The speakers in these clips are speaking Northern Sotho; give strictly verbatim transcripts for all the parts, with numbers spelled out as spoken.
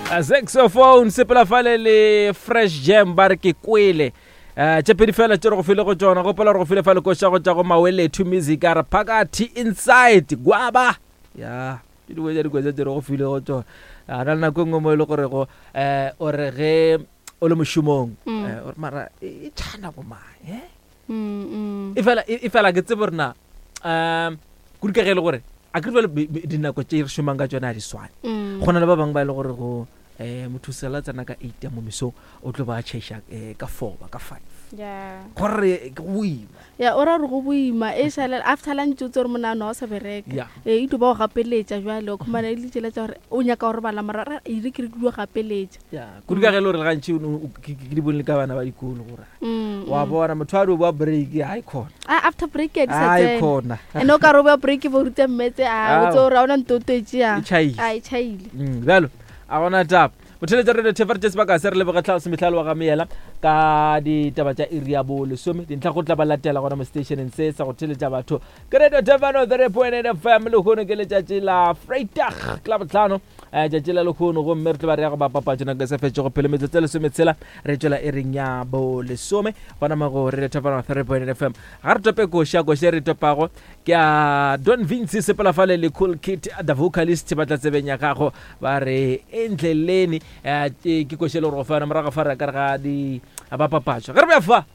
Saxophone sepela fale le Fresh Jam, ba re ke kwele. um tše pedi fela tše re go file go tšona. Gopola re go file fale koša go tša go Mawelethu Music, a re phakathi inside gwaba ya ke dingwe tša dikoša tše re go file go tšona. A na le nako e nngwe mo e le gorego um o re ge o le mošomong, Mm. eh, o re mara e e tšhana bomang eh? Mm, mm. E fela e fela ke tsebe gore na um kudu ka ge e le gore a ke re bjale dinako tše re šomang ka tšona a di swane. Mm. Go na le ba bangwe ba e le gore go um motho sela tsena ka eight ya mo mesong, o tlo ba tšhaiša um ka four ba ka five, Yeah. gore ke go boima. Ya, o ra gore go boima e šalela after lunch, o tse gore monano ga o sa bereka. Ya. Ee, e tlo ba go gapeletša jale, o khumana e le tsela tša gore o nyaka go robala, mara ra- ere ke re ke dio gapeletša. Ya, kudu ka ge e le gore le gantši o no- o- ke ke di bone le ka bana ba dikolo gore Mm, wa mm. bona motho a di o boa break ga e khona. Ah, after break ya di sa a e tsena. khona. Ene o ka re o boa break bo ruta mmetse a o Ao. tse gore ga ona nto o toetse ya. E tšhaile. A e tšhaile. Mm, bjalo a gona taba motheletša radio thefa re tše sebaka se re leboge tlhaose mehlalo wa ga meela ka ditaba tša iri ya bo lesome dintlha go tla ba latela gona mo stationeng se sa go theletša batho ke Radio Tefano three point eight F M. Lehono ke letšatši la Vrydag, ke la botlhano um tšatši la lehono, gomme re tlo ba re ya go bapapatso nako e sa fetšego pele metsotso e lesometshela re tšwela e reng ya bo lesome gona mo go Radio Tefano three point eight F M. Ga re tope koša, koša e re topago ke a Don Vinci sepela fale le Cool Kit the Vocalist, ba tla tsebeng ya gago ba re endleleni. eh, ke ke koša e le gore go fa yona morago fa re ka re ga di bapapatso ge re beya fa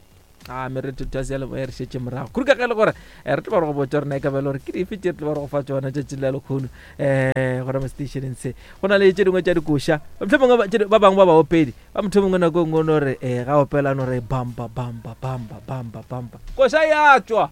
a mere thutasi ya leboya re šetše morago kudu ka ge e le gore eh, re tlo ba re go botsa rena e ka ba e le gore ke dife tše re tlo ba re go fa tsona tšatši la lekgono um gona mo stationeng se. Go na le tše dingwe tša dikoša, mohlomongwe ba- tše di- ba bangwe ba baopedi ba motho mongwe nako e nngwe o no re um ga opela no re bamba bamba bamba bamba bamba, koša ya tswa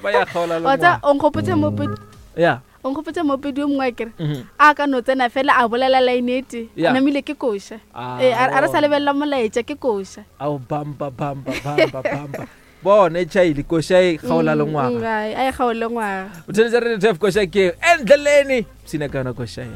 ba ya kgaola le Wa tsa ngwaga. o nkgopotse moopedi, Ya. o nkgopotse moopedi o mongwe a kere Mhm. a ka no tsena fela a bolela line e tee, Ya. namile ke koša. Ah, ee, a a re sa bona. lebelela molaetša ke koša. Ao, bamba bamba bamba bamba, bona e tšhaile koša e kgaola le Mm, ngwaga. mm, ai, a e kgaole ngwaga. O theletša radio tf, koša ke endleleni sina ka yona koša e.